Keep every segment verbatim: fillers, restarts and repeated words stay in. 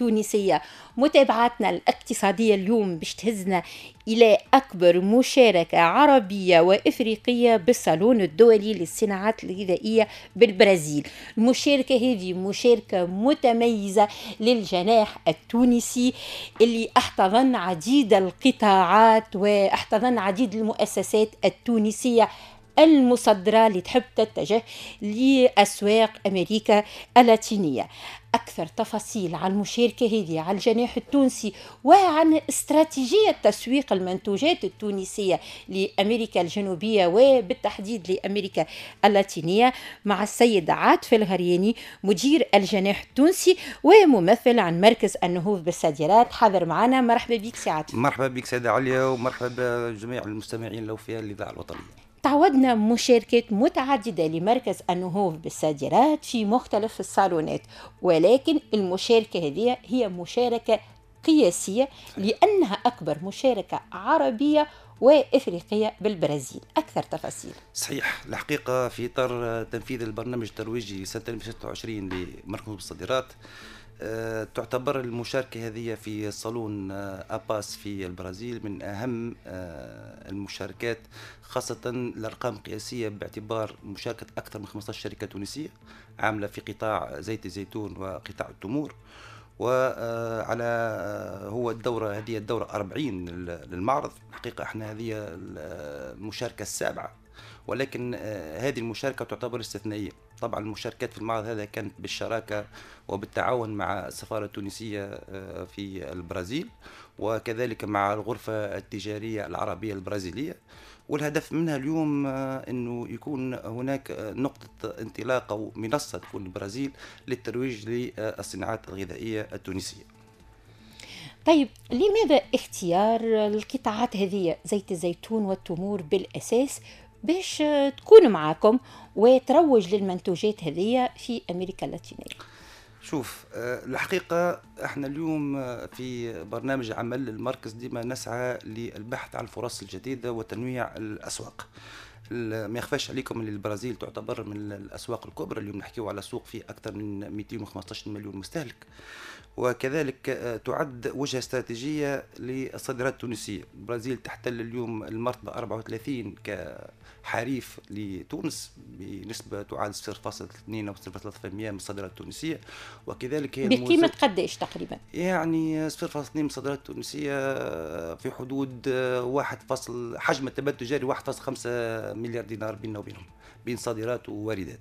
التونسية. متابعتنا الاقتصادية اليوم باش تهزنا إلى أكبر مشاركة عربية وإفريقية بالصالون الدولي للصناعات الغذائية بالبرازيل. المشاركة هذه مشاركة متميزة للجناح التونسي اللي احتضن عديد القطاعات واحتضن عديد المؤسسات التونسية المصدرة اللي تحب تتجه لأسواق أمريكا اللاتينية. أكثر تفاصيل عن المشاركة هذه، على الجناح التونسي وعن استراتيجية تسويق المنتوجات التونسية لأمريكا الجنوبية وبالتحديد لأمريكا اللاتينية، مع السيد عاطف الغرياني مدير الجناح التونسي وممثل عن مركز النهوض بالصادرات، حاضر معنا. مرحبا بك سي عاطف. مرحبا بك سيدة عليا، ومرحبا بجميع المستمعين الأوفياء للإذاعة الوطنية. تعودنا مشاركات متعددة لمركز النهوض بالصادرات في مختلف الصالونات، ولكن المشاركة هذه هي مشاركة قياسية لأنها أكبر مشاركة عربية وإفريقية بالبرازيل. أكثر تفاصيل. صحيح، الحقيقة في إطار تنفيذ البرنامج الترويجي سنة ألفين وستة وعشرين لمركز النهوض بالصادرات، تعتبر المشاركة هذه في صالون أباس في البرازيل من أهم المشاركات، خاصة الأرقام القياسية باعتبار مشاركة أكثر من خمسة عشر شركة تونسية عاملة في قطاع زيت الزيتون وقطاع التمور، وعلى هو الدورة هذه الدورة أربعين للمعرض. الحقيقة احنا هذه المشاركة السابعة، ولكن هذه المشاركة تعتبر استثنائية. طبعا المشاركات في المعرض هذا كانت بالشراكة وبالتعاون مع السفارة التونسية في البرازيل، وكذلك مع الغرفة التجارية العربية البرازيلية، والهدف منها اليوم أنه يكون هناك نقطة انطلاق أو منصة تكون البرازيل للترويج للصناعات الغذائية التونسية. طيب، لماذا اختيار القطاعات هذه زيت الزيتون والتمور بالأساس باش تكون معاكم وتروج للمنتوجات هذه في أمريكا اللاتينية؟ شوف، الحقيقة احنا اليوم في برنامج عمل المركز ديما نسعى للبحث عن الفرص الجديدة وتنويع الأسواق. ما يخفاش عليكم ان البرازيل تعتبر من الأسواق الكبرى، اليوم نحكيو على سوق فيه أكثر من مئتين وخمسة عشر مليون مستهلك، وكذلك تعد وجهة استراتيجية للصادرات التونسية. البرازيل تحتل اليوم المرتبة أربعة وثلاثين كحريف لتونس بنسبة تعادل صفر فاصلة اثنين أو صفر فاصلة ثلاثة بالمئة من الصادرات التونسية، وكذلك هي بقيمة قداش تقريبا؟ يعني صفر فاصلة اثنين من الصادرات التونسية في حدود واحد فاصل حجم التبادل التجاري واحد فاصلة خمسة مليار دينار بيننا وبينهم، بين صادرات وواردات.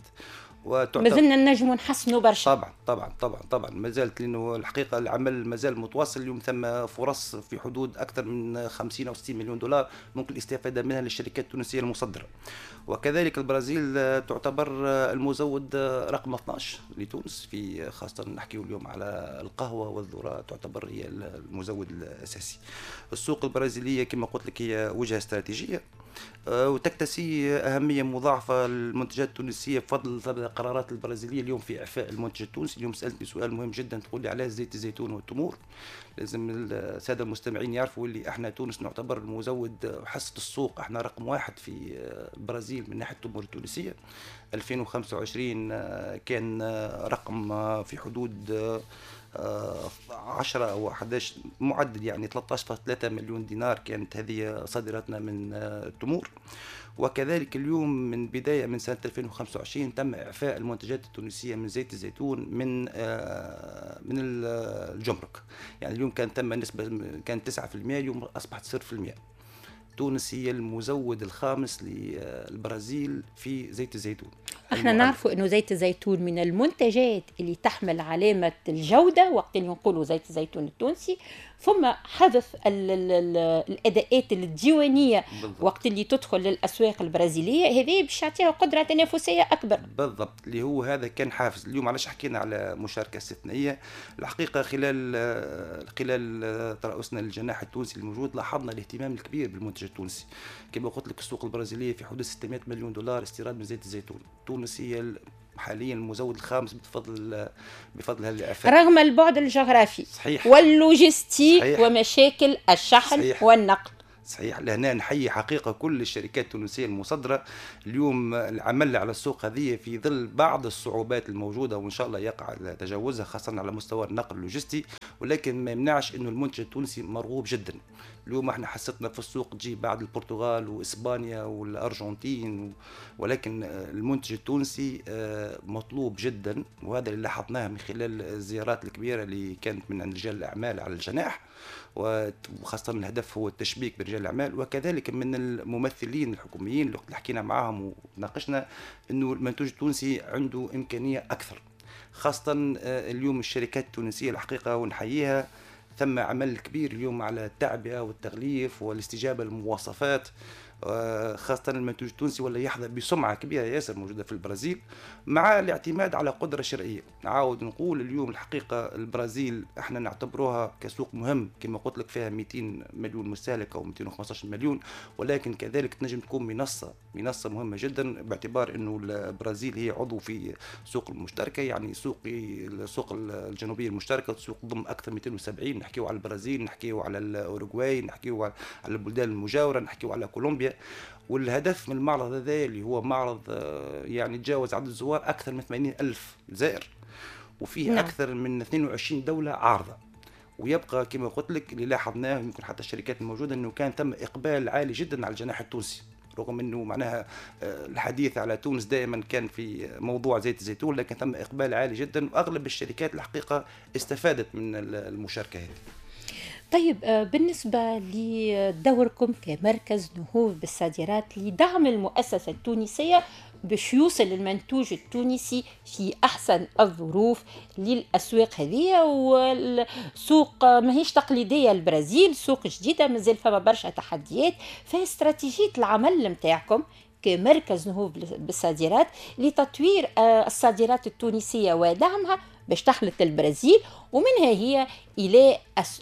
وتعتبر مازلنا نجموا نحسنوا برشا. طبعا طبعا طبعا طبعا ما زالت، لانه الحقيقة العمل مازال متواصل. اليوم ثم فرص في حدود اكثر من خمسين او ستين مليون دولار ممكن الاستفادة منها للشركات التونسية المصدرة. وكذلك البرازيل تعتبر المزود رقم اثناش لتونس، في خاصة نحكيو اليوم على القهوة والذرة، تعتبر هي المزود الاساسي. السوق البرازيليه كما قلت لك هي وجهه استراتيجية وتكتسي أهمية مضاعفة للمنتجات التونسية بفضل القرارات البرازيلية اليوم في إعفاء المنتج التونسي. اليوم سألتني سؤال مهم جدا، تقول لي علاش زيت الزيتون والتمور؟ لازم السادة المستمعين يعرفوا اللي احنا تونس نعتبر المزود حصة السوق، احنا رقم واحد في البرازيل من ناحية التمور التونسية. ألفين وخمسة وعشرين كان رقم في حدود عشرة أو أحد عشر معدل، يعني ثلاثة عشر فاصلة ثلاثة مليون دينار كانت هذه صادراتنا من التمور. وكذلك اليوم من بداية من سنة ألفين وخمسة وعشرين تم إعفاء المنتجات التونسية من زيت الزيتون من من الجمرك، يعني اليوم كان تم نسبة كانت تسعة بالمئة، اليوم أصبحت صفر بالمئة. تونس هي المزود الخامس للبرازيل في زيت الزيتون. احنا نعرفوا انه زيت الزيتون من المنتجات اللي تحمل علامة الجودة وقت اللي نقولوا زيت الزيتون التونسي، ثم حذف ال ال ال الاداءات الديوانية بالضبط. وقت اللي تدخل للاسواق البرازيلية هذه باش يعطيها قدرة تنافسية اكبر. بالضبط، اللي هو هذا كان حافز. اليوم علاش حكينا على مشاركة استثنائية؟ الحقيقة خلال خلال ترأسنا للجناح التونسي الموجود لاحظنا الاهتمام الكبير بالمنتج التونسي. كما قلت لك السوق البرازيلية في حدود ستمائة مليون دولار استيراد من زيت الزيتون. تونس هي حاليا المزود الخامس بفضل بفضل هذه الإعفاء، رغم البعد الجغرافي صحيح. واللوجستي صحيح. ومشاكل الشحن صحيح. والنقل. صحيح، لهنا نحيي حقيقة كل الشركات التونسية المصدرة. اليوم العمل على السوق هذه في ظل بعض الصعوبات الموجودة وإن شاء الله يقع تجاوزها، خاصة على مستوى النقل اللوجستي، ولكن ما يمنعش أنه المنتج التونسي مرغوب جدا. اليوم احنا حصتنا في السوق تجي بعد البرتغال وإسبانيا والأرجنتين، ولكن المنتج التونسي مطلوب جدا، وهذا اللي لاحظناه من خلال الزيارات الكبيرة اللي كانت من عند رجال الأعمال على الجناح، وخاصة الهدف هو التشبيك برجال الأعمال، وكذلك من الممثلين الحكوميين اللي حكينا معاهم وناقشنا أنه المنتوج التونسي عنده إمكانية أكثر، خاصة اليوم الشركات التونسية الحقيقة ونحييها، ثم عمل كبير اليوم على التعبئة والتغليف والاستجابة للمواصفات، خاصة المنتوج التونسي ولا يحظى بسمعة كبيرة ياسر موجودة في البرازيل، مع الاعتماد على قدرة شرائية. نعاود نقول اليوم الحقيقة البرازيل احنا نعتبروها كسوق مهم كما قلت لك، فيها مئتين مليون مستهلك أو مئتين وخمسة عشر مليون، ولكن كذلك تنجم تكون منصة منصة مهمة جدا، باعتبار أنه البرازيل هي عضو في سوق المشتركة، يعني سوق السوق الجنوبية المشتركة، سوق ضم أكثر من مئتين وسبعين. نحكيو على البرازيل، نحكيو على الأوروغواي، نحكيو على البلدان المجاورة، نحكيو على كولومبيا. والهدف من المعرض هذا اللي هو معرض يعني تجاوز عدد الزوار أكثر من ثمانين ألف زائر، وفيه نعم. أكثر من اثنين وعشرين دولة عارضة. ويبقى كما قلت لك اللي لاحظناه يمكن حتى الشركات الموجودة أنه كان ثم إقبال عالي جدا على الجناح التونسي، رغم أنه معناها الحديث على تونس دائما كان في موضوع زيت الزيتون، لكن ثم إقبال عالي جدا، وأغلب الشركات الحقيقة استفادت من المشاركة هذه. طيب، بالنسبة لدوركم كمركز نهوض بالصادرات لدعم المؤسسة التونسية باش يوصل المنتوج التونسي في أحسن الظروف للأسواق هذه، والسوق ماهيش تقليدية البرازيل، سوق جديدة مازال فما برشا تحديات، فاستراتيجية العمل متاعكم كمركز نهوض بالصادرات لتطوير الصادرات التونسية ودعمها باش تخلط البرازيل ومنها هي إلى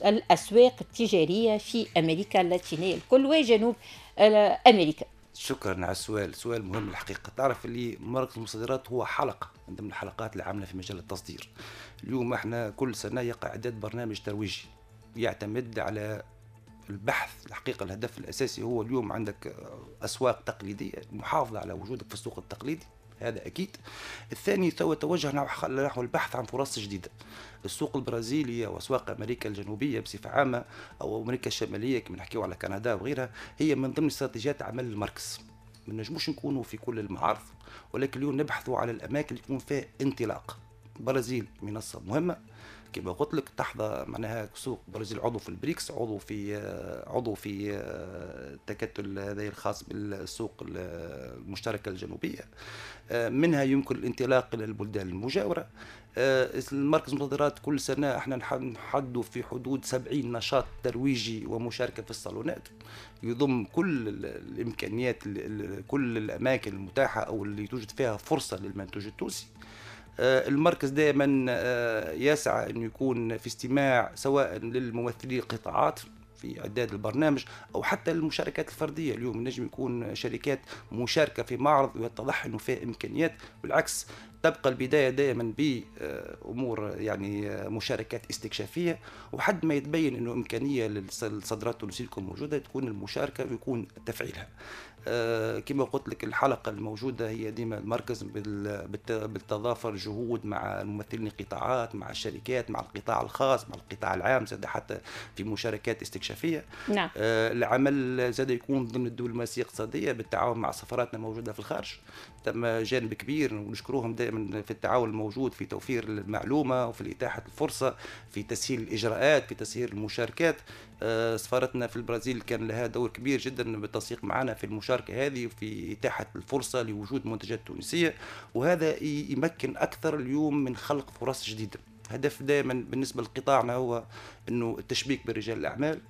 الأسواق التجارية في أمريكا اللاتينية الكل وجنوب أمريكا. شكرا على السؤال، سؤال مهم الحقيقة. تعرف اللي مركز المصادرات هو حلقة من ضمن الحلقات اللي عاملة في مجال التصدير. اليوم احنا كل سنة يقع إعداد برنامج ترويجي يعتمد على البحث. الحقيقة الهدف الأساسي هو اليوم عندك أسواق تقليدية، محافظة على وجودك في السوق التقليدي، هذا أكيد. الثاني هو توجه نحو البحث عن فرص جديدة. السوق البرازيلي وأسواق أمريكا الجنوبية بصفة عامة أو أمريكا الشمالية كما نحكيو على كندا وغيرها، هي من ضمن استراتيجيات عمل المركز. ما نجموش نكونوا في كل المعارض، ولكن اليوم نبحثوا على الأماكن اللي يكون فيها انطلاق. البرازيل منصة مهمة كما قلت لك، تحظى معناها سوق البرازيل عضو في البريكس، عضو في عضو في التكتل هذا الخاص بالسوق المشتركة الجنوبية، منها يمكن الانطلاق إلى البلدان المجاورة. المركز المصادرات كل سنة احنا نحدوا في حدود سبعين نشاط ترويجي ومشاركة في الصالونات، يضم كل الإمكانيات، كل الأماكن المتاحة أو اللي توجد فيها فرصة للمنتوج التونسي. المركز دائما يسعى أن يكون في استماع سواء للممثلي القطاعات في إعداد البرنامج أو حتى المشاركات الفردية. اليوم نجم يكون شركات مشاركة في معرض ويتضح أنه فيه إمكانيات، بالعكس تبقى البداية دائما بأمور يعني مشاركات استكشافية، وحد ما يتبين أنه إمكانية للصادرات التونسية تكون موجودة تكون المشاركة ويكون تفعيلها. كما قلت لك الحلقة الموجودة هي ديما المركز بالتضافر جهود مع الممثلين القطاعات، مع الشركات، مع القطاع الخاص، مع القطاع العام، زاد حتى في مشاركات استكشافية. نعم. العمل زاد يكون ضمن الدبلوماسية الاقتصادية بالتعاون مع سفاراتنا الموجودة في الخارج، تم جانب كبير ونشكرهم دائما في التعاون الموجود في توفير المعلومة وفي إتاحة الفرصة، في تسهيل الإجراءات، في تسهيل المشاركات. سفارتنا في البرازيل كان لها دور كبير جدا بالتنسيق معنا في المشاركة هذه وفي إتاحة الفرصة لوجود منتجات تونسية، وهذا يمكن أكثر اليوم من خلق فرص جديدة. هدف دائما بالنسبة لقطاعنا هو أنه التشبيك برجال الأعمال،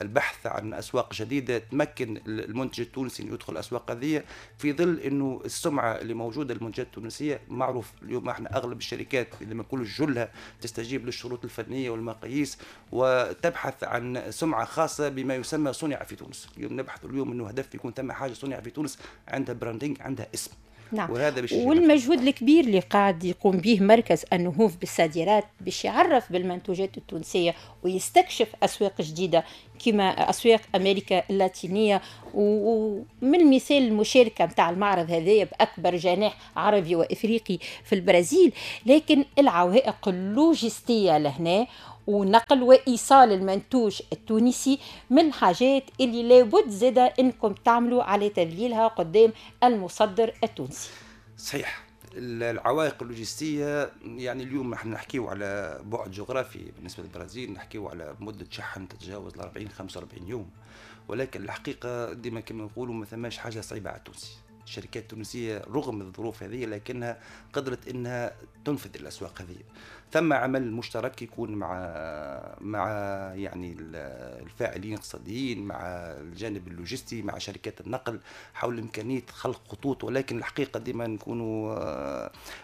البحث عن أسواق جديدة تمكن المنتج التونسي أن يدخل الأسواق هذه، في ظل أنه السمعة اللي موجودة للمنتجات التونسية معروف. اليوم احنا أغلب الشركات اللي ما نقولش جلها تستجيب للشروط الفنية والمقاييس وتبحث عن سمعة خاصة بما يسمى صنع في تونس. اليوم نبحث اليوم أنه هدف يكون ثم حاجة صنع في تونس، عندها branding، عندها اسم. نعم. وهذا باش والمجهود الكبير اللي قاعد يقوم به مركز النهوض بالصادرات باش يعرف بالمنتوجات التونسية ويستكشف أسواق جديدة كما أسواق أمريكا اللاتينية، ومن مثال المشاركة متاع المعرض هذا بأكبر جناح عربي وإفريقي في البرازيل. لكن العوائق اللوجستية لهنا ونقل وإيصال المنتوج التونسي من الحاجات اللي لابد زادة إنكم تعملوا على تذليلها قدام المصدر التونسي. صحيح، العوائق اللوجستية يعني اليوم نحن نحكيو على بعد جغرافي بالنسبة للبرازيل، نحكيو على مدة شحن تتجاوز ال أربعين خمسة وأربعين يوم، ولكن الحقيقة ديما كما نقولوا ما ثماش حاجة صعيبة على التونسي. الشركات التونسية رغم الظروف هذه لكنها قدرت انها تنفذ الاسواق هذه. ثم عمل مشترك يكون مع مع يعني الفاعلين الاقتصاديين، مع الجانب اللوجستي، مع شركات النقل حول امكانية خلق خطوط، ولكن الحقيقة ديما نكونوا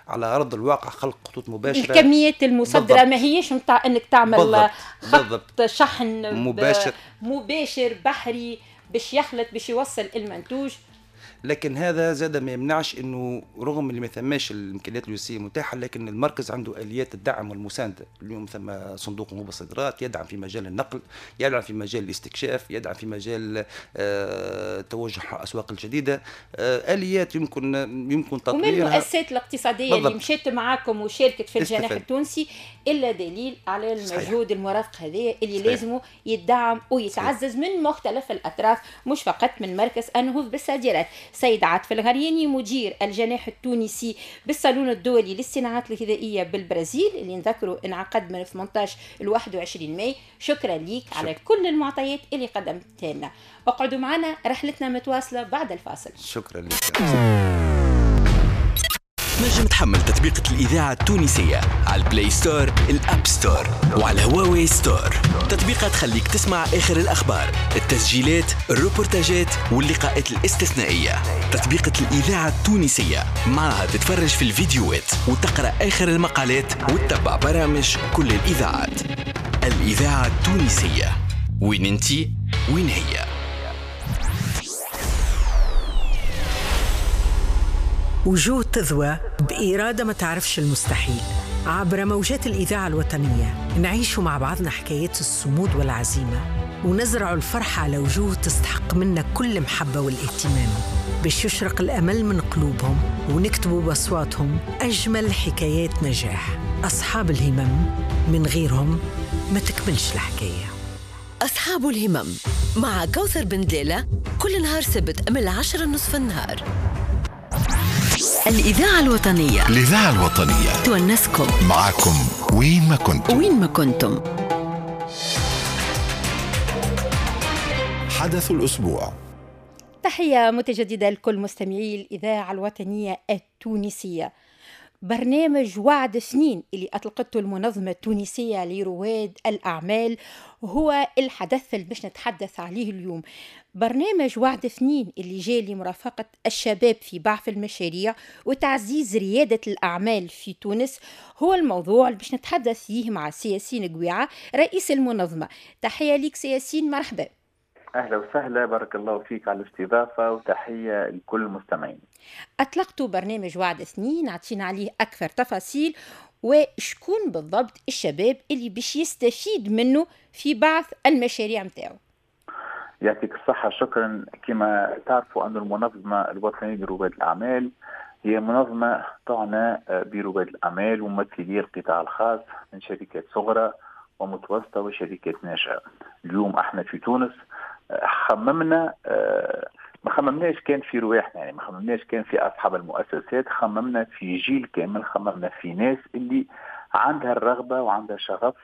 على ارض الواقع خلق خطوط مباشرة. الكميات المصدرة ما هيش نتاع انك تعمل بالضبط. خط بالضبط. شحن مباشر مباشر بحري باش يخلط باش يوصل المنتوج. لكن هذا زاد ما يمنعش انه رغم اللي ما ثماش الامكانيات اللوجستية متاحة، لكن المركز عنده اليات الدعم والمسانده. اليوم ثم صندوق نهوض الصادرات يدعم في مجال النقل، يدعم في مجال الاستكشاف، يدعم في مجال آه توجه الاسواق الجديدة، آه اليات يمكن يمكن تطويرها. ومن المؤسسات الاقتصادية بالضبط. اللي مشات معاكم وشاركت في الجناح التونسي الا دليل على المجهود المرافق هذا اللي لازم يدعم ويتعزز من مختلف الاطراف، مش فقط من مركز النهوض بالصادرات. سيد عاطف الغرياني مدير الجناح التونسي بالصالون الدولي للصناعات الغذائية بالبرازيل اللي نذكروا انعقد من ثمانية عشر ل واحد وعشرين ماي، شكرا ليك شكرا. على كل المعطيات اللي قدمتها لنا. اقعدوا معنا، رحلتنا متواصلة بعد الفاصل. شكرا لك. تنجم تحمل تطبيقة الإذاعة التونسية على ال Play Store، ال App Store، وعلى هواوي Store. تطبيقة تخليك تسمع آخر الأخبار، التسجيلات، الروبورتاجات واللقاءات الاستثنائية. تطبيقة الإذاعة التونسية معها تتفرج في الفيديوهات وتقرأ آخر المقالات وتتبع برامج كل الإذاعات. الإذاعة التونسية، وين انتي وين هي. وجوه تذوى بإرادة ما تعرفش المستحيل. عبر موجات الإذاعة الوطنية نعيش مع بعضنا حكايات الصمود والعزيمة، ونزرع الفرحة على وجوه تستحق منا كل محبة والاهتمام، باش يشرق الأمل من قلوبهم ونكتبوا بأصواتهم أجمل حكايات نجاح. أصحاب الهمم من غيرهم ما تكملش الحكاية. أصحاب الهمم مع كوثر بن دليلة كل نهار سبت من العشرة نصف النهار. الإذاعة الوطنية، الإذاعة الوطنية تونسكم معاكم وين ما كنتم، وين ما كنتم. حدث الأسبوع. تحية متجددة لكل مستمعي الإذاعة الوطنية التونسية. برنامج وعد اثنين اللي أطلقته المنظمة التونسية لرواد الأعمال هو الحدث اللي باش نتحدث عليه اليوم. برنامج وعد اثنين اللي جاء لمرافقة الشباب في بعث المشاريع وتعزيز ريادة الأعمال في تونس هو الموضوع اللي باش نتحدث فيه مع سي ياسين قويعة رئيس المنظمة. تحية لك سي ياسين، مرحبا. أهلا وسهلا، بارك الله فيك على الاستضافة وتحية لكل المستمعين. أطلقت برنامج وعد اثنين، عطينا عليه أكثر تفاصيل وشكون بالضبط الشباب اللي باش يستفيد منه في بعث المشاريع متاعه. يعطيك الصحة، شكرا. كما تعرفوا أن المنظمة الوطنية لرواد الأعمال هي منظمة تعنى برواد الأعمال وممثلي القطاع الخاص من شركات صغرى ومتوسطة وشركات ناشئة. اليوم احنا في تونس خممنا، ما خممناش كان في رواحنا، يعني ما خممناش كان في أصحاب المؤسسات، خممنا في جيل كامل، خممنا في ناس اللي عندها الرغبة وعندها شغف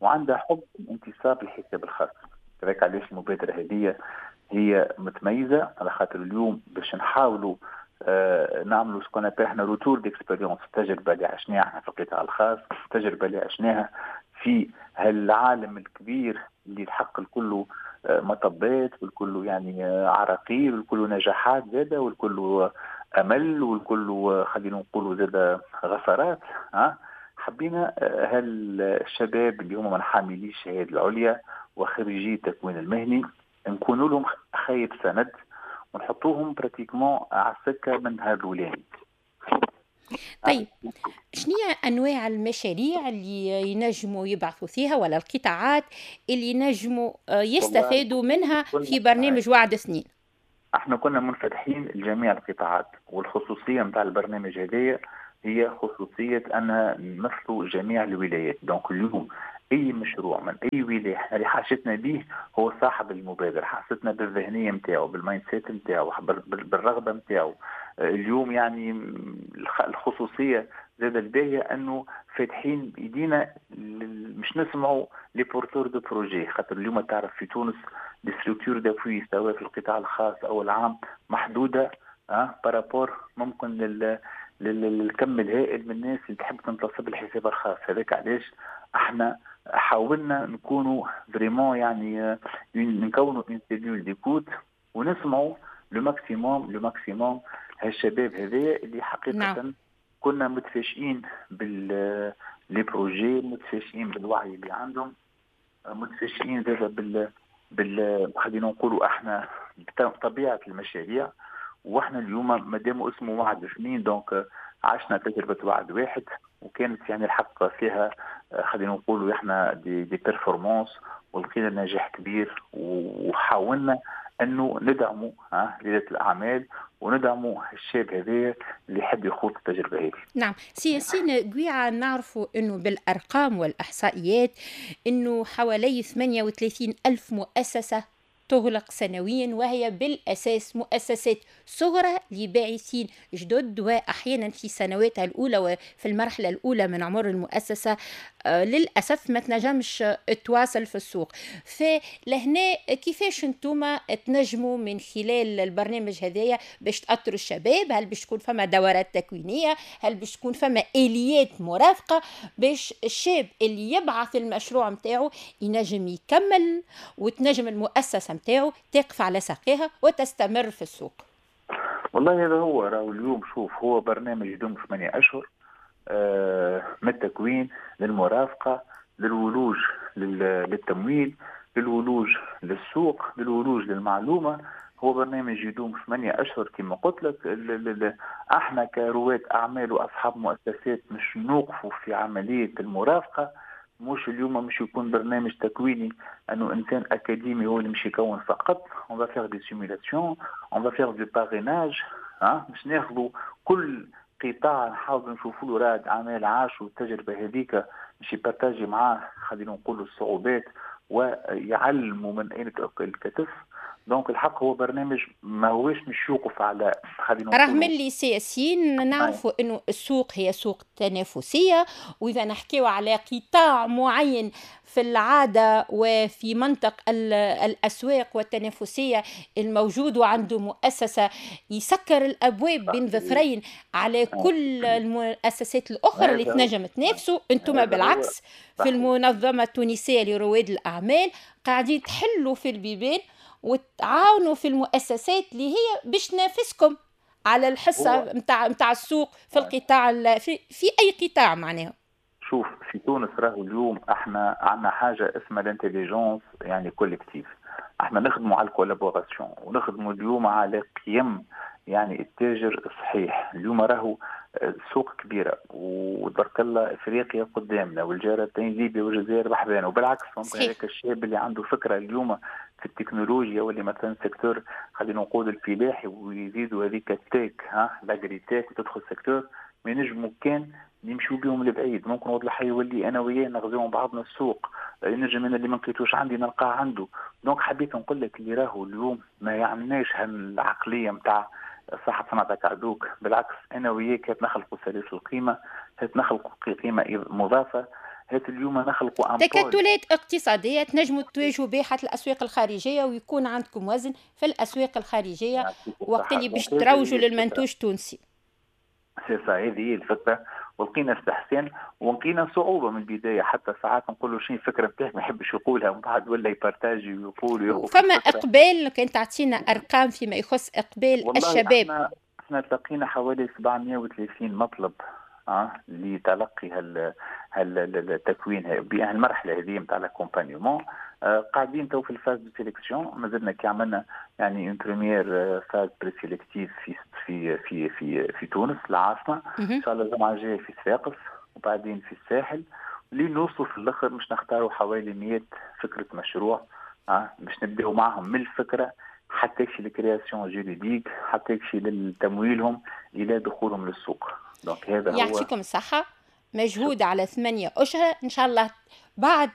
وعندها حب الانتصاب للحساب الخاص. لذلك علاش المبادرة هذه هي متميزة، على خاطر اليوم باش نحاولوا آه نعملوا ce qu'on appelle احنا retour d'expérience، التجربة اللي عشناها احنا في القطاع الخاص، التجربة اللي عشناها في هالعالم الكبير اللي الحق الكل مطبات والكل يعني عراقيل والكل نجاحات زادة والكل أمل والكل خلينا نقولوا زادة غفرات. ها حبينا هالشباب اللي هم من حاملي الشهادة العليا وخريجي التكوين المهني نكونوا لهم خيط سند ونحطوهم pratiquement على السكة من هذا الولاني. طيب شنو هي انواع المشاريع اللي ينجموا يبعثوا فيها ولا القطاعات اللي ينجموا يستفادوا منها في برنامج وعد اثنين؟ احنا كنا منفتحين لجميع القطاعات، والخصوصيه نتاع البرنامج هذايا هي خصوصية ان نمثلوا جميع الولايات. donc اليوم اي مشروع من اي ولاية احنا اللي حاجتنا به هو صاحب المبادرة، حاجتنا بالذهنيه نتاعو، بال mindset نتاعو، بالرغبه نتاعو. اليوم يعني الخصوصية زاد الباهيه انه فاتحين بايدينا مش نسمعوا les porteurs de projets، خاطر اليوم تعرف في تونس les structures d'appui سواء في القطاع الخاص او العام محدودة اه par rapport ممكن لل للكم الهائل من الناس اللي تحب تنتصب الحساب الخاص. هذاك علاش احنا حاولنا نكونوا vraiment يعني نكونوا une cellule d'écoute ونسمعوا le maximum le maximum هالشباب هذايا اللي حقيقة نعم. كنا متفاجئين بال les projets، متفاجئين بالوعي اللي عندهم، متفاجئين زاد بال بال خلينا نقولوا احنا بطبيعة المشاريع. واحنا اليوم مادام اسمه وعد اثنين donc عشنا تجربه وعد واحد، وكانت يعني الحق فيها خلينا نقولوا احنا des, des performances، ولقينا نجاح كبير، وحاولنا انه ندعموا ها رياده الاعمال وندعموا الشاب هذا اللي يحب يخوض التجربة هذه. نعم، سي ياسين قويعة، نعرفوا انه بالارقام والاحصائيات انه حوالي ثمانية وثلاثين الف مؤسسة تغلق سنويا، وهي بالأساس مؤسسات صغرى لباعثين جدد، وأحيانا في سنواتها الأولى وفي المرحلة الأولى من عمر المؤسسة آه، للأسف ما تنجمش تواصل في السوق. فلهنا كيفاش انتم تنجموا من خلال البرنامج هذايا باش تأطروا الشباب؟ هل باش تكون فما دورات تكوينية؟ هل باش تكون فما آليات مرافقة باش الشاب اللي يبعث المشروع متاعه ينجم يكمل وتنجم المؤسسة متاعه تقف على ساقيها وتستمر في السوق؟ والله هذا هو راهو اليوم. شوف، هو برنامج يدوم ثمانية أشهر، آه، من التكوين للمرافقة للولوج للتمويل للولوج للسوق للولوج للمعلومة. هو برنامج يدوم ثمانية أشهر كما قلت لك. احنا كرواد أعمال وأصحاب مؤسسات مش نوقفوا في عملية المرافقة. مش اليوم مش يكون برنامج تكويني انه انسان اكاديمي هو اللي مش يكون فقط. on va faire des simulations، on va faire du parrainage، ها مش ناخذوا كل قطاع نحاولوا نشوفوا له رائد اعمال عاشوا التجربة هذيك، مش ي partager معاه خلينا نقولوا الصعوبات ويعلموا من اين تاكل الكتف. donc الحق هو برنامج ما هوش مش يوقف على خلينا رغم اللي سي ياسين نعرفوا انه السوق هي سوق تنافسية، واذا نحكيو على قطاع معين في العادة وفي منطق الاسواق والتنافسيه الموجود وعنده مؤسسة يسكر الابواب بين ظفرين على كل المؤسسات الاخرى اللي تنجم تنافسوا. انتم بالعكس في المنظمة التونسية لرواد الاعمال قاعدين تحلوا في البيبان وتعاونوا في المؤسسات اللي هي باش تنافسكم على الحصة نتاع نتاع السوق في القطاع في, في اي قطاع معناها. شوف في تونس راهو اليوم احنا عندنا حاجة اسمها l'intelligence يعني collective. احنا نخدموا على ال collaboration ونخدموا اليوم على قيم يعني التاجر الصحيح. اليوم راهو السوق كبيرة وتبارك الله افريقيا قدامنا والجارتين ليبيا والجزائر بحذانا، وبالعكس ممكن هذاك الشاب اللي عنده فكرة اليوم في التكنولوجيا واللي مثلا secteur خلينا نقول الفلاحي ويزيدوا هذيك ال tech ها l'agritech وتدخل secteur ما ينجموا كان يمشوا بهم لبعيد. ممكن وضع الحي يولي انا وياه نغزيهم بعضنا السوق، ينجم انا اللي ما لقيتوش عندي نلقاه عنده. donc حبيت نقول لك اللي راهو اليوم ما يعناش هالعقليه نتاع صاحب صنعتك عدوك، بالعكس انا وياك هات نخلقوا سلاسل القيمة، هات نخلقوا قيمة مضافة، هات اليوم نخلقوا تكتلات اقتصادية تنجموا تواجهوا بها حتى الاسواق الخارجية ويكون عندكم وزن في الاسواق الخارجية وقت اللي باش تروجوا للمنتوج التونسي. سي سا هذه هي الفكرة، ولقينا استحسان ولقينا صعوبة من البداية، حتى ساعات نقول له شنو الفكرة نتاعك ما يحبش يقولها ومن بعد ولا ي partager ويقول. فما اقبال، كان تعطينا ارقام فيما يخص اقبال الشباب؟ احنا احنا تلقينا حوالي سبعمية وثلاثين مطلب اه لتلقي هال هال التكوين بهالمرحلة هذه نتاع l'accompagnement. قاعدين تو في ال phase de sélection، مازلنا كي عملنا يعني une première phase présélective في في في في في تونس العاصمة، ان شاء الله الجمعة الجاية في صفاقس وبعدين في الساحل، لين نوصلوا في الاخر مش نختاروا حوالي مية فكرة مشروع، اه باش نبداو معهم من الفكرة حتى يكشي ال création juridique، حتى يكشي لتمويلهم الى دخولهم للسوق. donc هذا هو. يعطيكم الصحة، مجهود على ثمانية أشهر، إن شاء الله بعد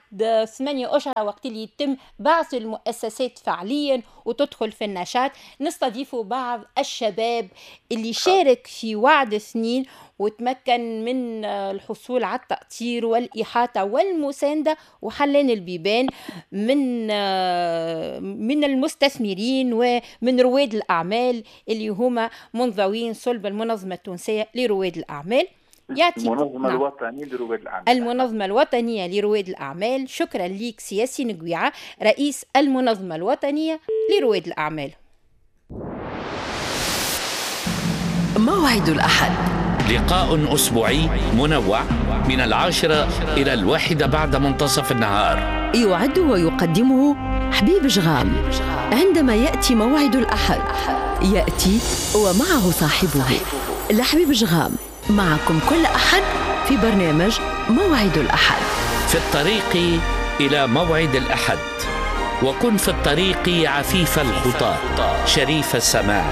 ثمانية أشهر وقت اللي يتم بعث المؤسسات فعليا وتدخل في النشاط نستضيف بعض الشباب اللي شارك في وعد اثنين وتمكن من الحصول على التأطير والإحاطة والمساندة وحلان البيبان من من المستثمرين ومن رواد الأعمال اللي هما منضوين صلب المنظمة التونسية لرواد الأعمال. يعطيك المنظمة نعم. الوطنية لرواد الأعمال. المنظمة الوطنية لرواد الأعمال. شكرا لك سي ياسين قويعة رئيس المنظمة الوطنية لرواد الأعمال. موعد الأحد، لقاء أسبوعي منوع من العاشرة إلى الواحدة بعد منتصف النهار، يعد ويقدمه حبيب جغام. عندما يأتي موعد الأحد يأتي ومعه صاحبه لحبيب جغام، معكم كل أحد في برنامج موعد الأحد. في الطريق إلى موعد الأحد، وكن في الطريق عفيف الخطى، شريف السماع،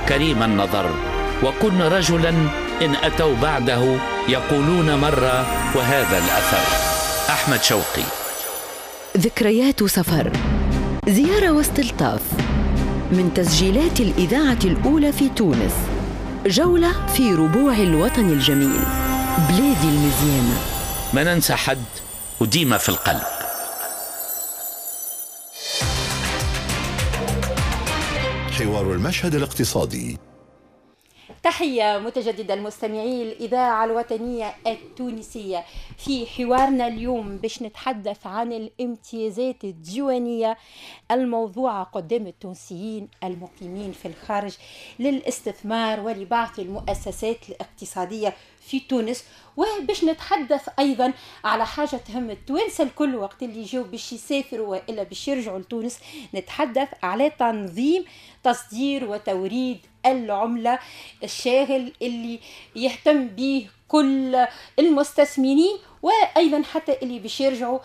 كريم النظر، وكن رجلا إن أتوا بعده يقولون مرة وهذا الأثر. أحمد شوقي. ذكريات سفر، زيارة واستلطاف من تسجيلات الإذاعة الأولى في تونس، جولة في ربوع الوطن الجميل، بلادي المزيانة. ما ننسى حد وديما في القلب. حوار المشهد الاقتصادي. تحية متجددة المستمعين الإذاعة الوطنية التونسية. في حوارنا اليوم باش نتحدث عن الامتيازات الديوانية الموضوعة قدام التونسيين المقيمين في الخارج للاستثمار ولبعث المؤسسات الاقتصادية في تونس، وباش نتحدث أيضا على حاجة تهم التوانسة الكل وقت اللي يجوا باش يسافروا وإلا باش يرجعوا لتونس. نتحدث على تنظيم تصدير وتوريد العملة الشاغل اللي يهتم به كل المستثمرين وأيضا حتى اللي باش يرجعوا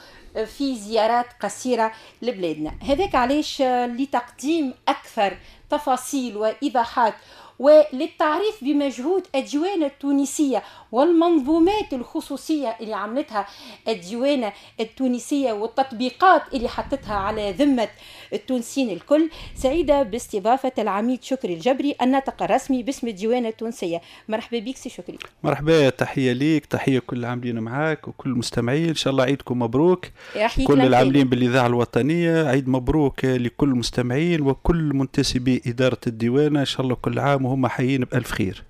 في زيارات قصيرة لبلادنا. هذاك علاش لتقديم أكثر تفاصيل وإيضاحات وللتعريف بمجهود الديوانة التونسية والمنظومات الخصوصية اللي عملتها الديوانة التونسية والتطبيقات اللي حطتها على ذمة التونسيين الكل، سعيدة باستضافة العميد شكري الجبري الناطق الرسمي باسم الديوانة التونسية. مرحبا بك سي شكري. مرحبا، تحية ليك، تحية كل العاملين معاك وكل المستمعين، إن شاء الله عيدكم مبروك. كل العاملين بالإذاعة الوطنية عيد مبروك لكل المستمعين وكل منتسبي إدارة الديوانة، إن شاء الله كل عام وهم حيين بألف خير.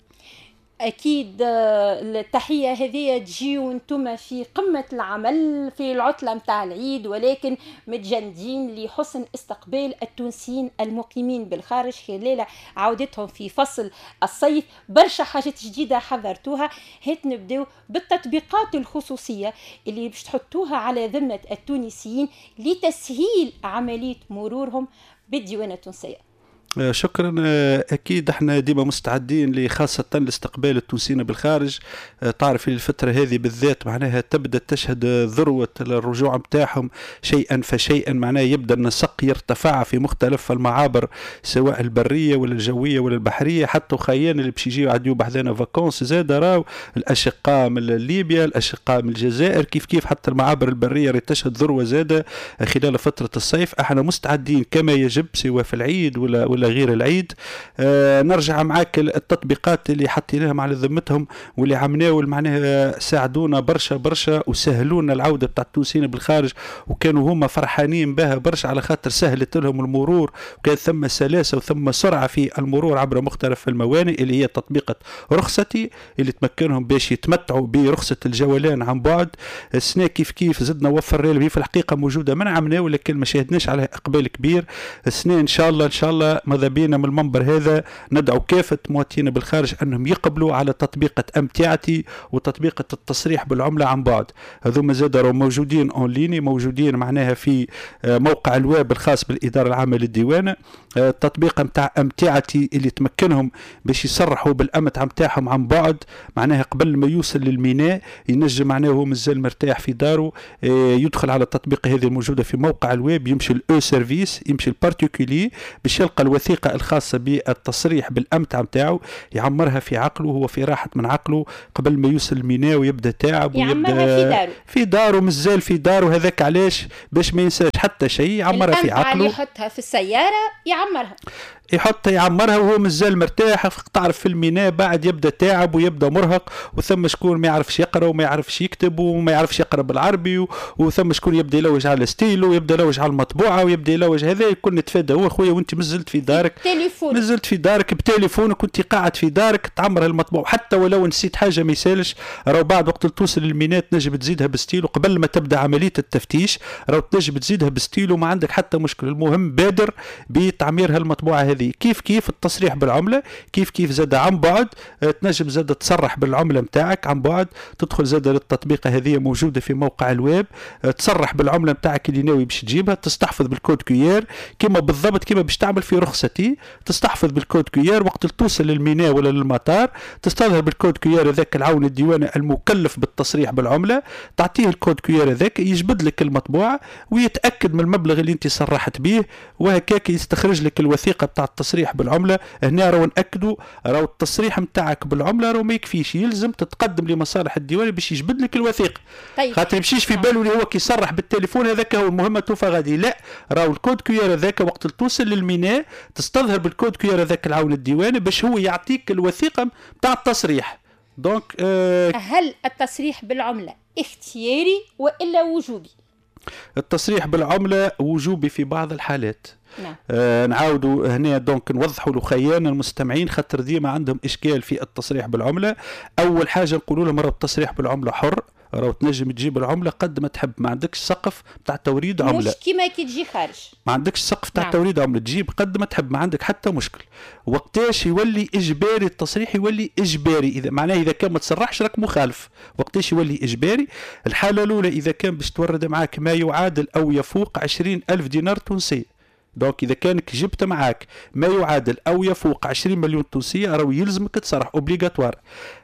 أكيد التحية هذه تجي وانتم في قمة العمل في العطلة متاع العيد، ولكن متجندين لحسن استقبال التونسيين المقيمين بالخارج خلال عودتهم في فصل الصيف. برشا حاجات جديدة حضرتوها، هات نبداو بالتطبيقات الخصوصية اللي باش تحطوها على ذمة التونسيين لتسهيل عملية مرورهم بالديوانة التونسية. شكرا. اكيد احنا ديما مستعدين لخاصه لاستقبال التونسيين بالخارج. تعرف الفترة هذه بالذات معناها تبدا تشهد ذروة الرجوع نتاعهم شيئا فشيئا، معناها يبدا النسق يرتفع في مختلف المعابر سواء البرية ولا الجوية ولا البحرية. حتى خيان اللي باش يجيو عديو بحذانا vacances زاد راو الاشقاء من ليبيا، الاشقاء من الجزائر، كيف كيف حتى المعابر البرية راهي تشهد ذروة زاده خلال فترة الصيف. احنا مستعدين كما يجب سواء في العيد ولا ولا غير العيد. آه نرجع معاك التطبيقات اللي حطيناهم على ذمتهم واللي عمناول معناها ساعدونا برشا برشا وسهلونا العودة بتاع التونسيين بالخارج، وكانوا هما فرحانين بها برشا على خاطر سهلت لهم المرور، وكان ثم سلاسة وثم سرعة في المرور عبر مختلف الموانئ اللي هي تطبيقه رخصتي اللي تمكنهم باش يتمتعوا برخصه الجولان عن بعد. السنة كيف كيف زدنا وفرنا لهم، في الحقيقة موجودة من عمناول لكن ما شاهدناش عليها اقبال كبير. السنة ان شاء الله ان شاء الله ماذا بينا من المنبر هذا ندعو كافة مواطنين بالخارج انهم يقبلوا على تطبيقه امتعتي وتطبيقه التصريح بالعملة عن بعد. هذوما زاد راهو موجودين en ligne، موجودين معناها في موقع الويب الخاص بالادارة العامة للديوانه. التطبيق نتاع امتعتي اللي تمكنهم باش يصرحوا بالامتعه نتاعهم عن بعد، معناها قبل ما يوصل للميناء ينجم معناها هو مازال مرتاح في داره يدخل على التطبيق هذه الموجودة في موقع الويب، يمشي ال e-service، يمشي ال particulier باش يلقى الوثيقة الخاصة بالتصريح بالامتعه نتاعو، يعمرها في عقله وهو في راحة من عقله قبل ما يوصل الميناء ويبدا تعب ويبدا في داره في داره مازال في داره. هذاك علاش باش ما ينساش حتى شيء، يعمرها في عقله، يحطها في السيارة يعمرها، يحط يعمرها وهو مازال مرتاح. تعرف في الميناء بعد يبدا تعب ويبدا مرهق، وثم شكون ما يعرفش يقرا وما يعرفش يكتب وما يعرفش يقرا بالعربي، وثم شكون يبدا يلوج على ستيلو ويبدا يلوج على المطبوعة ويبدا يلوج. هذا الكل نتفادى هو خويا وانت مازلت في دارك، مازلت في دارك بتليفونك وانت قاعد في دارك تعمر المطبوع، حتى ولو نسيت حاجة ما يسالش، راهو بعد وقت توصل للميناء تنجم تزيدها بستيلو قبل ما تبدا عملية التفتيش، راهو تنجم تزيدها بستيلو ما عندك حتى مشكل. المهم بادر بتعمير هالمطبوعه هذه. كيف كيف التصريح بالعملة، كيف كيف زاد عن بعد، تنجم زاد تصرح بالعملة نتاعك عن بعد، تدخل زاد للتطبيقه هذه موجودة في موقع الويب، تصرح بالعملة نتاعك اللي ناوي باش تجيبها، تستحفظ بال code QR كما بالضبط كما باش تعمل في رخصتي، تستحفظ بال code QR وقت توصل للميناء ولا للمطار، تستظهر بال code QR هذاك العون الديواني المكلف بالتصريح بالعملة، تعطيه ال code QR هذاك يجبد لك المطبوعة ويتاكد من المبلغ اللي انت صرحت به، وهكاك يستخرج لك الوثيقة بتاع التصريح بالعملة. هنا راهو ناكدوا راهو التصريح نتاعك بالعملة راهو ما يكفيش، يلزم تتقدم لمصالح الديوان باش يجبد لك الوثيقة. طيب. خاطر يمشيش في باله اللي هو كي يصرح بالتليفون هذاك هو المهمة توفى غادي، لا راهو ال code QR هذاك وقت توصل للميناء تستظهر بال code QR هذاك العون الديواني باش هو يعطيك الوثيقة نتاع التصريح. donc آه هل التصريح بالعملة اختياري والا وجوبي؟ التصريح بالعملة وجوبي في بعض الحالات. نعم. آه نعاودوا هنا donc نوضحوا لخيانا المستمعين خاطر ديما عندهم اشكال في التصريح بالعملة. اول حاجة نقولوا لهم راه التصريح بالعملة حر، راهو تنجم تجيب العملة قد ما تحب، ما عندكش سقف تاع توريد عمله، مش كيما كي تجي خارج، ما عندكش سقف تاع نعم. توريد عمله، تجيب قد ما تحب، ما عندك حتى مشكل. وقتاش يولي اجباري التصريح؟ يولي اجباري اذا معناه اذا كان ما تصرحش راك مخالف. وقتاش يولي اجباري؟ الحالة الاولى اذا كان باش تورد معاك ما يعادل او يفوق عشرين ألف دينار تونسي. donc اذا كانك جبت معاك ما يعادل او يفوق عشرين مليون تونسية راهو يلزمك تصرح obligatoire.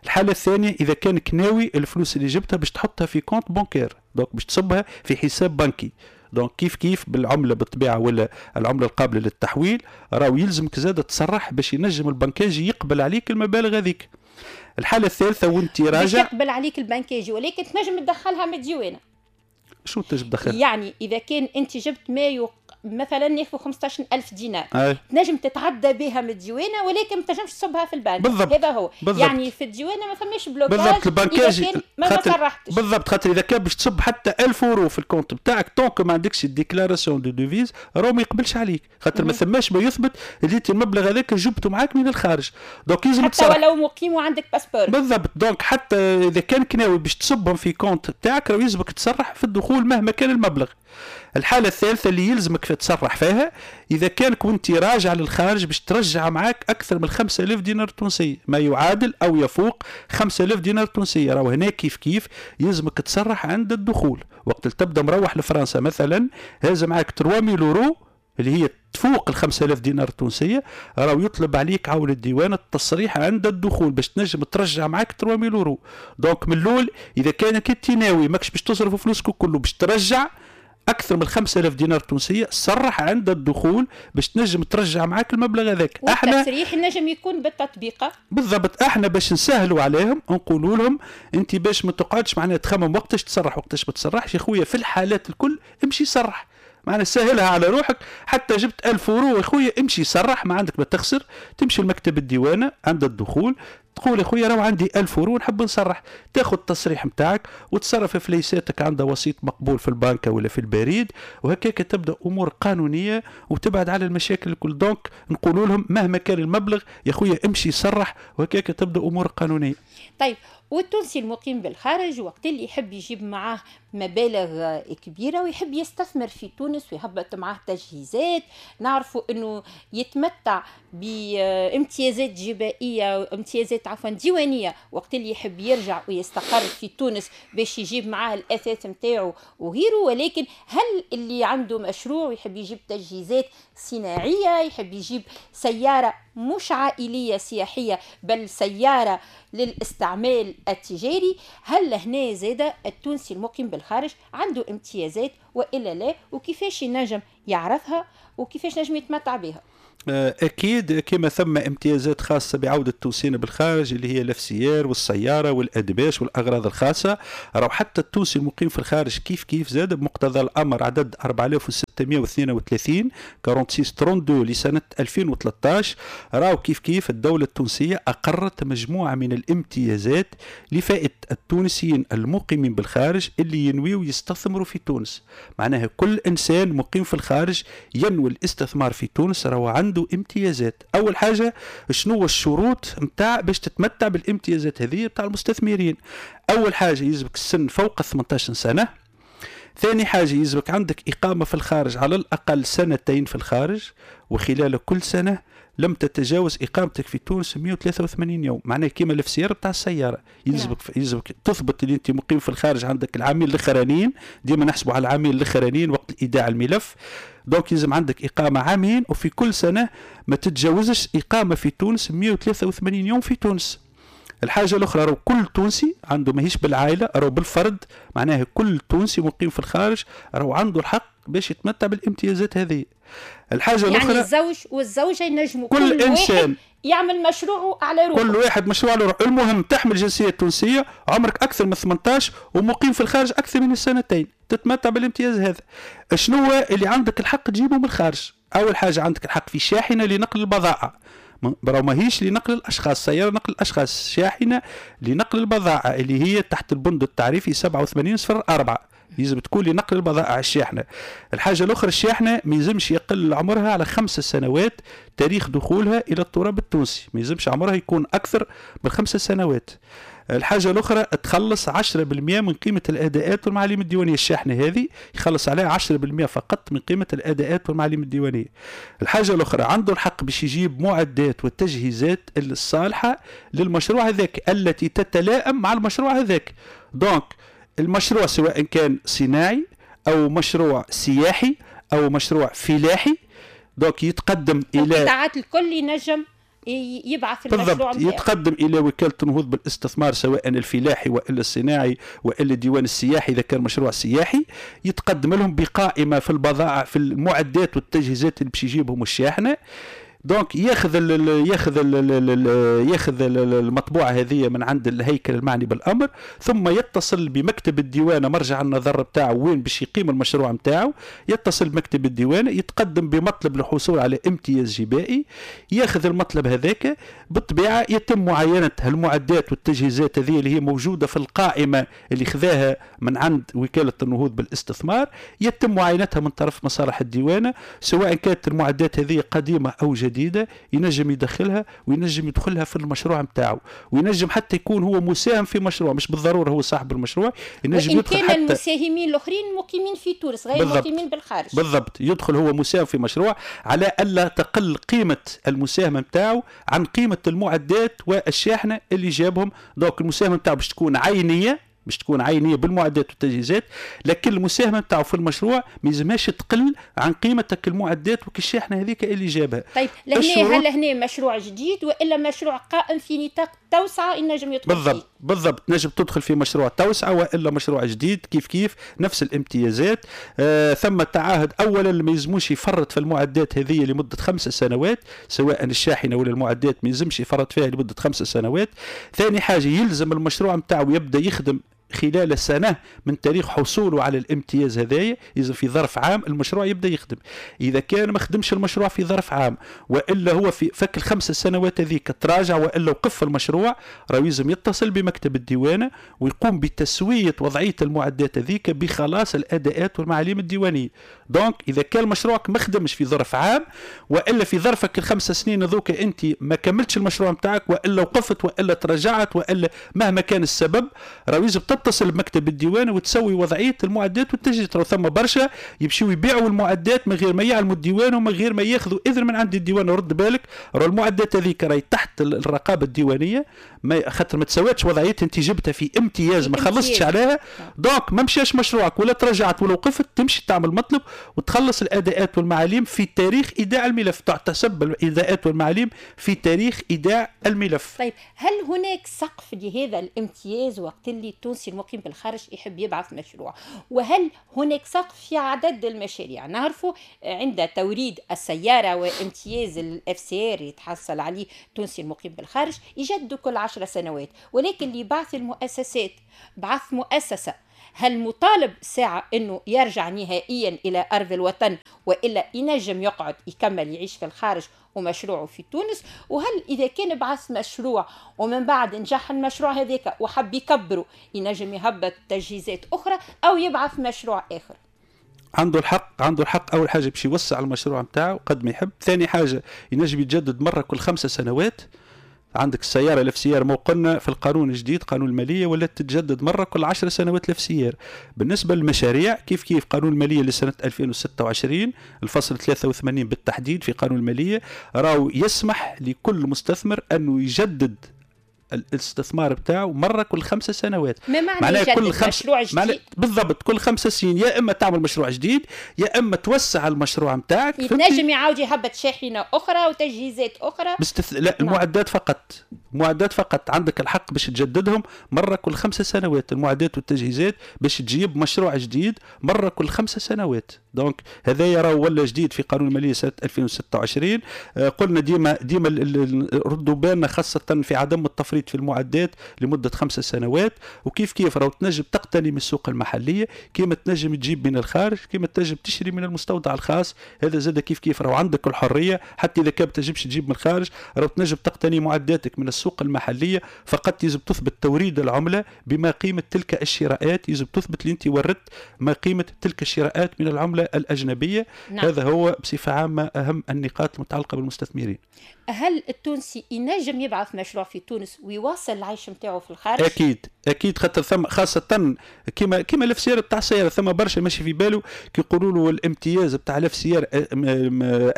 الحالة الثانية اذا كانك ناوي الفلوس اللي جبتها باش تحطها في compte bancaire، donc باش تصبها في حساب بنكي، donc كيف كيف بالعملة بالطبيعة ولا العملة القابلة للتحويل راهو يلزمك زاد تصرح باش ينجم البنكاجي يقبل عليك المبالغ هذيك. الحالة الثالثة وانت راجع يقبل عليك البنكاجي ولكن تنجم تدخلها من الديوانه. شو تنجم تدخلها؟ يعني اذا كان انت جبت ما يق... مثلا ناخذ خمسطاش ألف دينار أي. تنجم تتعدى بها من الديوانه ولكن ما تنجمش تصبها في البنك. بالضبط. هذا هو. بالضبط. يعني في الديوانه ما فماش blocage. بالضبط. البنكاجي ما صرحتش. بالضبط، خاطر اذا كان باش تصب حتى ألف اورو في ال compte بتاعك tant que ما عندكش ال déclaration de devises راهو ما يقبلش عليك، خاطر ما ثماش ما يثبت اللي انت المبلغ هذاك جبته معاك من الخارج. donc لازم حتى ولو مقيم وعندك passeport. بالضبط. donc حتى اذا كان ناوي باش تصبهم في compte تاعك راهو يلزمك تصرح في الدخول مهما كان المبلغ. الحالة الثالثة اللي يلزمك تصرح فيها إذا كان كنت راجع للخارج باش ترجع معاك أكثر من خمسة آلاف دينار تونسي، ما يعادل أو يفوق خمسة آلاف دينار تونسية، راهو هنا كيف كيف يلزمك تصرح عند الدخول. وقت تبدا مروح لفرنسا مثلا هذا معاك ثلاثة آلاف يورو اللي هي تفوق ال خمسة آلاف دينار تونسية، راهو يطلب عليك عون الديوان التصريح عند الدخول باش تنجم ترجع معاك ثلاثة آلاف يورو. donc من الاول اذا كانك انت ناوي ماكش باش تصرف فلوسك كله باش ترجع اكثر من خمسة آلاف دينار تونسية، صرح عند الدخول باش تنجم ترجع معاك المبلغ هذاك. احنا التصريح نجم يكون بالتطبيقه. بالضبط. احنا باش نسهلوا عليهم نقولوا لهم انت باش ما تقعدش معناها تخمم وقتاش تصرح وقتاش ما تصرحش، يا خويا في الحالات الكل امشي صرح، معناها سهلها على روحك. حتى جبت ألف اورو يا خويا امشي صرح، ما عندك ما تخسر. تمشي لمكتب الديوانه عند الدخول تقول يا خويا راهو عندي ألف اورو نحب نصرح، تاخذ التصريح نتاعك وتصرف فليساتك عند وسيط مقبول في البنكه ولا في البريد، وهكاك تبدا امور قانونية وتبعد على المشاكل الكل. donc نقولوا لهم مهما كان المبلغ يا خويا امشي صرح، وهكاك تبدا امور قانونية. طيب، والتونسي المقيم بالخارج وقت اللي يحب يجيب معاه مبالغ كبيرة ويحب يستثمر في تونس ويهبط معاه تجهيزات، نعرفوا أنه يتمتع بامتيازات جبائية، امتيازات عفوا ديوانية وقت اللي يحب يرجع ويستقر في تونس باش يجيب معاه الأثاث متاعه وغيره. ولكن هل اللي عنده مشروع ويحب يجيب تجهيزات صناعية، يحب يجيب سيارة مش عائلية سياحية بل سيارة للاستعمال التجاري، هل هنا زاد التونسي المقيم بالخارج عنده امتيازات وإلا لا؟ وكيفاش ينجم يعرفها وكيفاش نجم يتمتع بها؟ أكيد كما ثم امتيازات خاصة بعودة التونسيين بالخارج اللي هي ال FCR والسيارة والأدباش والأغراض الخاصة، راهو حتى التونسي المقيم في الخارج كيف كيف زاد بمقتضى الأمر عدد أربعة آلاف وستمائة واثنين وثلاثين ستة وأربعين اثنين وثلاثين لسنة ألفين وثلاثة عشر، راهو كيف كيف الدولة التونسية أقرت مجموعة من الامتيازات لفائدة التونسيين المقيمين بالخارج اللي ينويوا يستثمروا في تونس. معناها كل إنسان مقيم في الخارج ينوي الاستثمار في تونس راهو عنده امتيازات. اول حاجة شنو الشروط نتاع باش تتمتع بالامتيازات هذه نتاع المستثمرين؟ اول حاجة يلزمك السن فوق ثمانية عشر سنة. ثاني حاجة يلزمك عندك اقامه في الخارج على الاقل سنتين في الخارج، وخلال كل سنة لم تتجاوز اقامتك في تونس مئة وثلاثة وثمانين يوم. معناه كيما ال FCR بتاع السيارة، يلزمك يلزمك تثبت اللي انت مقيم في الخارج عندك العامين الاخرانيين، ديما نحسبوا على العامين الاخرانيين وقت ايداع الملف. donc يلزم عندك اقامه عامين، وفي كل سنة ما تتجاوزش اقامه في تونس مئة وثلاثة وثمانين يوم في تونس. الحاجة الاخرى راهو كل تونسي عنده، ماهيش بالعائلة، راهو بالفرد، معناها كل تونسي مقيم في الخارج راهو عنده الحق باش يتمتع بالامتيازات هذه. الحاجة يعني الاخرى الزوج والزوجة ينجموا كل, كل انسان واحد يعمل مشروعه على روحه، كل واحد مشروع على روحه. المهم تحمل جنسية تونسية، عمرك اكثر من ثمانية عشر ومقيم في الخارج اكثر من السنتين، تتمتع بالامتياز هذا. شنو اللي عندك الحق تجيبه من الخارج؟ اول حاجة عندك الحق في شاحنة لنقل البضائع، راهو ماهيش لنقل الاشخاص، سيارة نقل الاشخاص، شاحنة لنقل البضائع اللي هي تحت البند التعريفي سبعة وثمانين صفر أربعة، يلزم تكون لنقل البضائع الشاحنة. الحاجة الاخرى الشاحنة ما يلزمش يقل عمرها على خمس سنوات تاريخ دخولها الى التراب التونسي، ما يلزمش عمرها يكون اكثر من خمس سنوات. الحاجة الاخرى تخلص عشرة بالمئة من قيمة الاداءات والمعاليم الديوانيه، الشاحنة هذه يخلص عليها عشرة بالمئة فقط من قيمة الاداءات والمعاليم الديوانيه. الحاجة الاخرى عنده الحق باش يجيب معدات والتجهيزات الصالحة للمشروع هذاك التي تتلائم مع المشروع هذاك. donc المشروع سواء كان صناعي او مشروع سياحي او مشروع فلاحي، donc يتقدم الى القطاعات الكل ينجم يبعث المشروع بالضبط، يتقدم الى وكالة النهوض بالاستثمار سواء الفلاحي والا الصناعي والا الديوان السياحي اذا كان مشروع سياحي، يتقدم لهم بقائمه في البضائع في المعدات والتجهيزات اللي باش يجيبهم الشاحنة. donc ياخذ ال ياخذ ال ياخذ المطبوعة هذه من عند الهيكل المعني بالامر، ثم يتصل بمكتب الديوانه مرجع النظر بتاعه وين باش يقيم المشروع نتاعو، يتصل بمكتب الديوانه يتقدم بمطلب للحصول على امتياز جبائي، ياخذ المطلب هذاك، بالطبيعة يتم معاينة المعدات والتجهيزات هذه اللي هي موجودة في القائمة اللي خذاها من عند وكالة النهوض بالاستثمار، يتم معاينتها من طرف مصالح الديوانه سواء كانت المعدات هذه قديمة او جديدة، ينجم يدخلها وينجم يدخلها في المشروع نتاعو، وينجم حتى يكون هو مساهم في مشروع، مش بالضرورة هو صاحب المشروع، ينجم يدخل حتى المساهمين الاخرين مقيمين في تونس غير مقيمين بالخارج. بالضبط، يدخل هو مساهم في مشروع على الا تقل قيمة المساهمة نتاعو عن قيمة المعدات والشاحنه اللي جابهم. donc المساهمة نتاعو باش تكون عينيه، باش تكون عينيه بالمعدات والتجهيزات، لكن المساهمة نتاعو في المشروع ما يلزمهاش تقل عن قيمتك المعدات وكالشاحنه هذيك اللي جابها. طيب لهنا هل هنا مشروع جديد والا مشروع قائم في نطاق توسعه ينجم يدخل بالضبط فيه؟ بالضبط، نجم تدخل في مشروع توسعه والا مشروع جديد كيف كيف نفس الامتيازات. آه ثم تعهد اولا ما يلزموش يفرط في المعدات هذه لمدة خمس سنوات، سواء الشاحنة ولا المعدات ما يلزمش يفرط فيها لمدة خمس سنوات. ثاني حاجة يلزم المشروع نتاعو يبدا يخدم خلال سنة من تاريخ حصوله على الامتياز هذايا، إذا في ظرف عام المشروع يبدأ يخدم. إذا كان ما خدمش المشروع في ظرف عام وإلا هو في فك الخمس سنوات هذيك تراجع وإلا وقف المشروع، راه يلزم يتصل بمكتب الديوانة ويقوم بتسوية وضعية المعدات هذيك بخلاص الأداءات والمعاليم الديوانية. donc إذا كان مشروعك ما خدمش في ظرف عام وإلا في ظرفك الخمس سنين هذوك أنت ما كملتش المشروع نتاعك وإلا وقفت وإلا تراجعت وإلا مهما كان السبب، راه يلزم تتصل بمكتب الديوانة وتسوي وضعية المعدات والتجهيزات. راه ثم برشا يمشيو يبيعوا المعدات من غير ما يعلموا الديوان ومن غير ما ياخذوا اذن من عند الديوان. رد بالك، راه المعدات هذيك راهي تحت الرقابة الديوانيه، ما خاطر ما تسواتش وضعيتها، انت جبتها في امتياز ما خلصتش عليها، donc ما مشاش مشروعك ولا تراجعت ولا وقفت، تمشي تعمل مطلب وتخلص الاداءات والمعاليم في تاريخ ايداع الملف، تعتسب الاداءات والمعاليم في تاريخ ايداع الملف. طيب هل هناك سقف لهذا الامتياز وقت اللي التونسي المقيم بالخارج يحب يبعث مشروع؟ وهل هناك سقف في عدد المشاريع؟ نعرفوا عند توريد السيارة وامتياز ال FCR يتحصل عليه التونسي المقيم بالخارج يجدد كل عشر سنوات، ولكن لبعث المؤسسات، بعث مؤسسة، هل مطالب ساعة أنه يرجع نهائيا إلى أرض الوطن وإلا ينجم يقعد يكمل يعيش في الخارج ومشروعه في تونس؟ وهل إذا كان بعث مشروع ومن بعد نجح المشروع هذاك وحب يكبره ينجم يهبط تجهيزات أخرى أو يبعث مشروع آخر؟ عنده الحق، عنده الحق أول حاجة باش يوسع المشروع نتاعو قد ما يحب. ثاني حاجة ينجم يتجدد مرة كل خمسة سنوات. عندك السيارة ال FCR مو قلنا في القانون الجديد قانون المالية ولات تتجدد مرة كل عشر سنوات ال FCR. بالنسبة للمشاريع كيف كيف قانون المالية لسنه ألفين وستة وعشرين الفصل ثلاثة وثمانين بالتحديد في قانون المالية راهو يسمح لكل مستثمر انه يجدد الاستثمار بتاعه مرة كل خمسة سنوات. ما معنى يجدد كل خمس... مشروع جديد؟ بالضبط كل خمسة سنين، يا اما تعمل مشروع جديد يا اما توسع المشروع نتاعك. يتنجم يعاود يهبط شاحنة اخرى وتجهيزات اخرى بستث... لا المعدات فقط، المعدات فقط عندك الحق باش تجددهم مرة كل خمسة سنوات، المعدات والتجهيزات باش تجيب مشروع جديد مرة كل خمسة سنوات. donc هذا راه ولا جديد في قانون المالية سنة ألفين وستة وعشرين. آه قلنا ديما ديما ردوا بالنا خاصة في عدم التفريط في المعدات لمدة خمسة سنوات. وكيف كيف راهو تنجم تقتني من السوق المحلية كيما تنجم تجيب من الخارج كيما تنجم تشري من المستودع الخاص. هذا زاد كيف كيف راهو عندك الحرية، حتى اذا كان تنجمش تجيب من الخارج راهو تنجم تقتني معداتك من السوق المحلية. فقط يجب تثبت توريد العملة بما قيمة تلك الشراءات، يجب تثبت اللي انت وردت ما قيمة تلك الشراءات من العملة الاجنبية. نعم. هذا هو بصفة عامة اهم النقاط المتعلقة بالمستثمرين. هل التونسي ينجم يبعث مشروع في تونس ويواصل العيش نتاعو في الخارج؟ اكيد اكيد، خاطر ثم خاصة كيما كيما ال FCR بتاع السيارة، ثم برشا ماشي في باله كي يقولوا له الامتياز بتاع ال FCR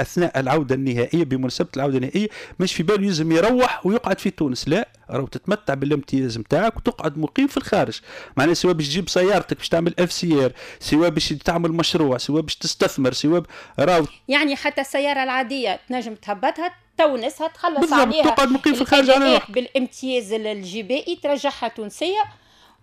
اثناء العودة النهائية بمناسبة العودة النهائية ماشي في باله يلزم يروح ويقعد في تونس. لا، راهو تتمتع بالامتياز نتاعك وتقعد مقيم في الخارج. معناها سواء باش تجيب سيارتك باش تعمل FCR، سواء باش تعمل مشروع، سواء باش تستثمر، سواء راهو يعني حتى السيارة العادية تنجم تهبطها تونسها تخلص عليها، تقعد مقيم في الخارج على روحك بالامتياز الجبائي ترجعها تونسية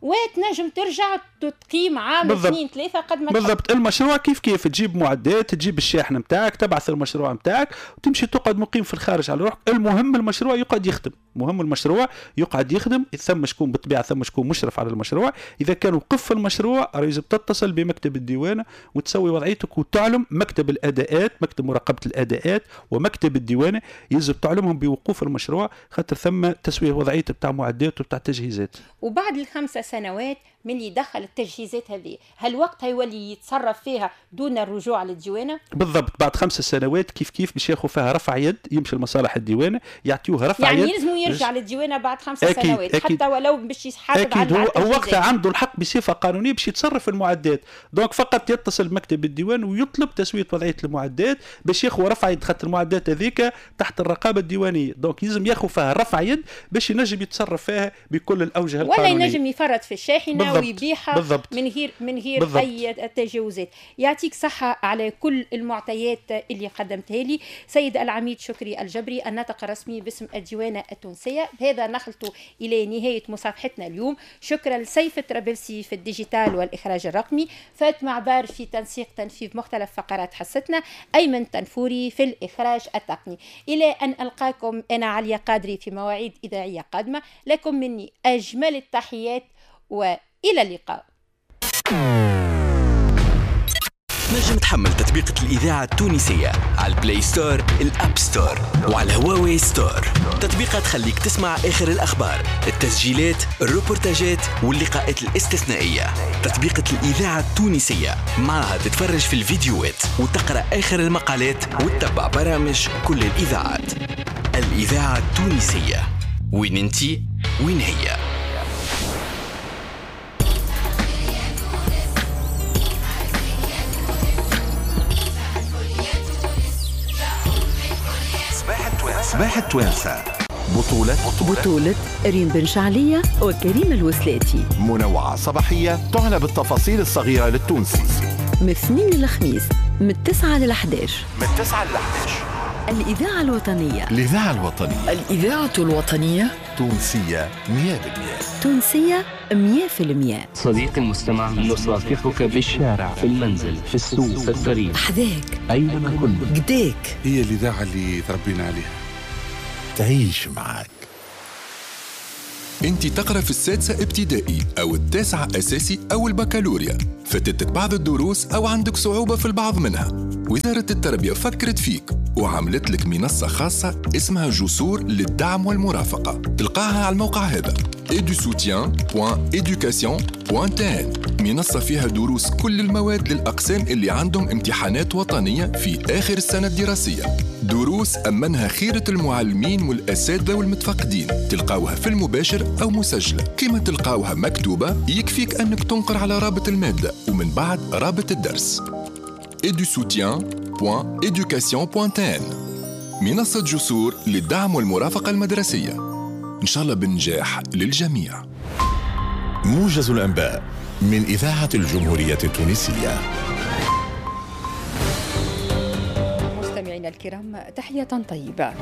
وتنجم ترجع تقيم عام اثنين ثلاثة قد ما بالضبط. المشروع كيف كيف تجيب معدات، تجيب الشاحن نتاعك، تبعث المشروع نتاعك وتمشي تقعد مقيم في الخارج على روحك. المهم المشروع يقعد يخدم، مهم المشروع يقعد يخدم. ثم شكون بالطبيعة ثم شكون مشرف على المشروع. اذا كان وقف المشروع لازم تتصل بمكتب الديوانه وتسوي وضعيتك وتعلم مكتب الاداءات، مكتب مراقبة الاداءات ومكتب الديوانه يلزم تعلمهم بوقوف المشروع، خاطر ثم تسويه وضعيته بتاع معدات وبتاع تجهيزات. وبعد الخمسة سنوات من اللي دخل التجهيزات هذه، هل وقتها يولي يتصرف فيها دون الرجوع للديوانه؟ بالضبط، بعد خمس سنوات كيف كيف باش ياخذ فيها رفع يد، يمشي لمصالح الديوانه يعطيوه رفع يعني يد، يعني يلزمو يرجع للديوانه بعد خمس سنوات. أكيد. حتى ولو باش يحافظ على على هو وقتها عنده الحق بصفة قانونية باش يتصرف المعدات. donc فقط يتصل بمكتب الديوان ويطلب تسويه وضعية المعدات باش ياخذ رفع يد، خاطر المعدات هذيك تحت الرقابة الديوانيه، donc يلزم ياخذ فيها رفع يد باش ينجم يتصرف فيها بكل الاوجه القانونية، ولا ينجم يفرط في الشاحنة ويبيعها بالضبط. من غير من غير بالضبط. اي تجاوزات. يعطيك صحة على كل المعطيات اللي قدمتها لي سيد العميد شكري الجبري الناطق الرسمي باسم الديوانه التونسية. بهذا نخلط الى نهاية مصافحتنا اليوم. شكرا لسيف الطرابلسي في ال digital والاخراج الرقمي، فاطمة عبار في تنسيق تنفيذ مختلف فقرات حصتنا، ايمن تنفوري في الاخراج التقني. الى ان القاكم انا عليا قادري في مواعيد اذاعية قادمة، لكم مني اجمل التحيات و إلى اللقاء. تنجم تحمل تطبيقة الإذاعة التونسية على ال Play Store، ال App Store وعلى هواوي Store. تطبيقة تخليك تسمع آخر الأخبار، التسجيلات، الروبورتاجات واللقاءات الاستثنائية. تطبيقة الإذاعة التونسية معها تتفرج في الفيديوهات وتقرأ آخر المقالات وتتبع برامج كل الإذاعات. الإذاعة التونسية، وين انتي وين هي. صباح التوانسة بطولة بطولة ريم بن شعلية وكريم الوسلاتي. منوعة صباحية تعنى بالتفاصيل الصغيرة للتونسي من اثنين للخميس من تسعة للحداش من تسعة للحداش. الإذاعة الوطنية الإذاعة الوطنية الإذاعة الوطنية تونسية مية بالمية تونسية مية في المية. صديقي المستمع، نصافحك في الشارع، في المنزل، في السوق، في الطريق، حذاك، أينما كنت، قداك. هي الإذاعة اللي تربينا عليها، تعيش معك. انت تقرأ في السادسة ابتدائي أو التاسعة أساسي أو البكالوريا، فاتتك بعض الدروس أو عندك صعوبة في البعض منها. وزارة التربية فكرت فيك وعملت لك منصة خاصة اسمها جسور للدعم والمرافقة، تلقاها على الموقع هذا edusoutien دوت education دوت tn. منصة فيها دروس كل المواد للأقسام اللي عندهم امتحانات وطنية في آخر السنة الدراسية، دروس أمنها خيرة المعلمين والأساتذة والمتفقدين، تلقاوها في المباشر أو مسجلة، كما تلقاوها مكتوبة يكفيك أنك تنقر على رابط المادة ومن بعد رابط الدرس. edusoutien دوت education دوت tn، منصة جسور للدعم والمرافقة المدرسية. إن شاء الله بالنجاح للجميع. موجز الأنباء من إذاعة الجمهورية التونسية. مستمعينا الكرام، تحية طيبة.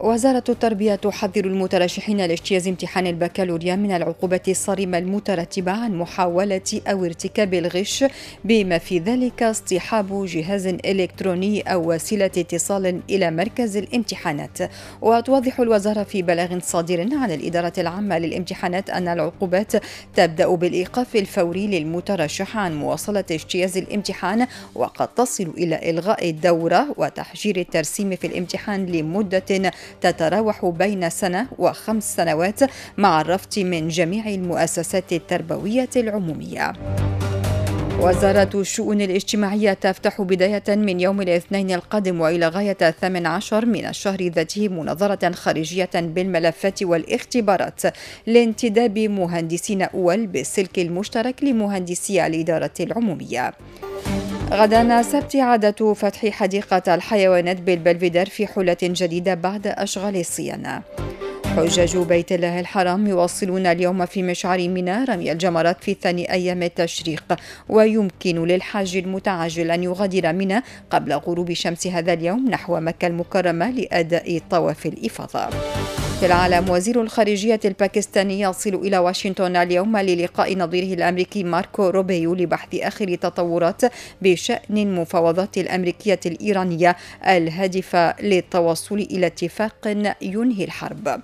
وزارة التربية تحذر المترشحين لاجتياز امتحان البكالوريا من العقوبة الصارمة المترتبة عن محاولة أو ارتكاب الغش، بما في ذلك اصطحاب جهاز إلكتروني أو وسيلة اتصال إلى مركز الامتحانات. وتوضح الوزارة في بلاغ صادر عن الإدارة العامة للامتحانات أن العقوبات تبدأ بالإيقاف الفوري للمترشح عن مواصلة اجتياز الامتحان، وقد تصل إلى إلغاء الدورة وتحجير الترسيم في الامتحان لمدة تتراوح بين سنة وخمس سنوات، مع الرفض من جميع المؤسسات التربوية العمومية. وزارة الشؤون الاجتماعية تفتح بداية من يوم الاثنين القادم وإلى غاية الثامن عشر من الشهر ذاته مناظرة خارجية بالملفات والاختبارات لانتداب مهندسين أول بالسلك المشترك لمهندسي الإدارة العمومية. غدا سبت عادة فتح حديقة الحيوانات بالبلفيدر في حلة جديدة بعد أشغال الصيانة. حجاج بيت الله الحرام يواصلون اليوم في مشعر منى رمي الجمرات في ثاني أيام التشريق، ويمكن للحاج المتعجل أن يغادر منى قبل غروب شمس هذا اليوم نحو مكة المكرمة لأداء طواف الإفاضة. في العالم، وزير الخارجية الباكستاني يصل إلى واشنطن اليوم للقاء نظيره الأمريكي ماركو روبيو لبحث آخر تطورات بشأن المفاوضات الأمريكية الإيرانية الهادفة للتوصل إلى اتفاق ينهي الحرب.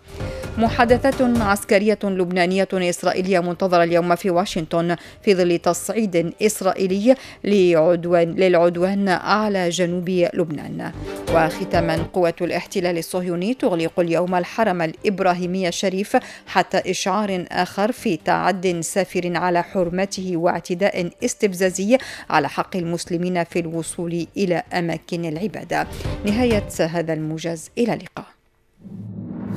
محادثات عسكرية لبنانية إسرائيلية منتظرة اليوم في واشنطن في ظل تصعيد إسرائيلي لعدوان للعدوان على جنوب لبنان. وختاما، قوة الاحتلال الصهيوني تغلق اليوم الحرم الإبراهيمي الشريف حتى إشعار آخر في تعد سافر على حرمته واعتداء استفزازي على حق المسلمين في الوصول إلى أماكن العبادة. نهاية هذا الموجز، إلى اللقاء.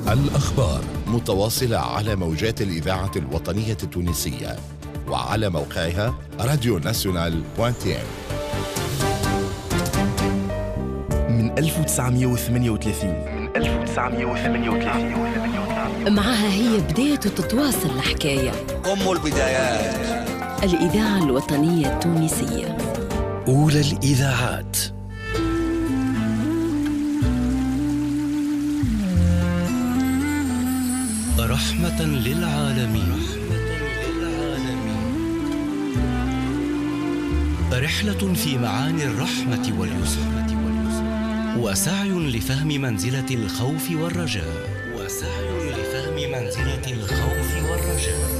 الأخبار متواصلة على موجات الإذاعة الوطنية التونسية وعلى موقعها راديو ناسيونال دوت تي إن. من ألف وتسعمئة وثمانية وثلاثين من ألف وتسعمئة وثمانية وثلاثين معها هي بداية تتواصل الحكاية، أم البدايات، الإذاعة الوطنية التونسية، أولى الإذاعات. رحمة للعالمين، رحلة في معاني الرحمة واليسر، وسعي لفهم منزلة الخوف والرجاء، وسعي لفهم منزلة الخوف والرجاء.